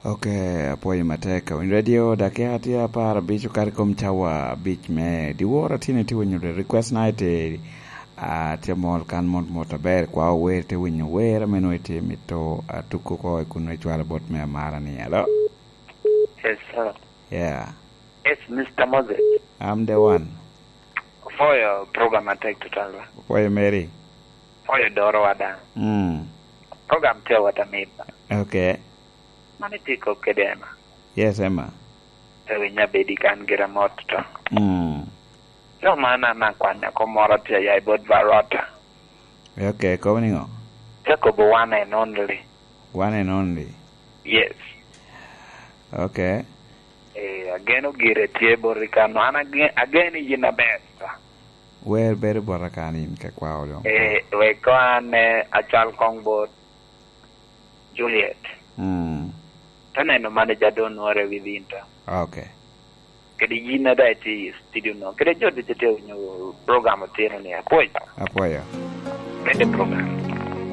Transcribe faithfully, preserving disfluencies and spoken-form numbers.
Ok, apwoyo matek. Awinyo radio, dakika tye apar abic okato i kom cawa abic me dyewor. Atye ni tye winyo request night, ah, tye mol kan mot mot aber, kwa ower, tye winyo wer ame nongo itye mito atuko oko i kun icwalo bot me amara ni, alo? Yes, sir. Yeah. Yes, Mister Moses. I'm the one. Apwoyo program atek tutwal. Apwoyo Mary. Apwoyo doro wada. Mm. Program tye wata mit. Okay. Mano itye kop kede Emma. Yes, Emma. Ewinyo abedi kan gira mot to. Mm. Cok man an akwanya kom moro tye ya i bot Barota. Okay, kobo niŋo? Te kobo one and only. One and only. Yes. Okay. Eh, ageno gire tye bot i kano. An age-, ageno yin aber, sir. Wer bedo bot akan in ka kwao doŋ. Eh, wek ko an, eh, acal kong bot Juliet. Mm. Te neno manager doŋ nwore within to. Okay. Kede yin a daŋ itye i studio no. Kede jo ducu tye winyo program otino ni apwoyo. Apwoyo. Kede program.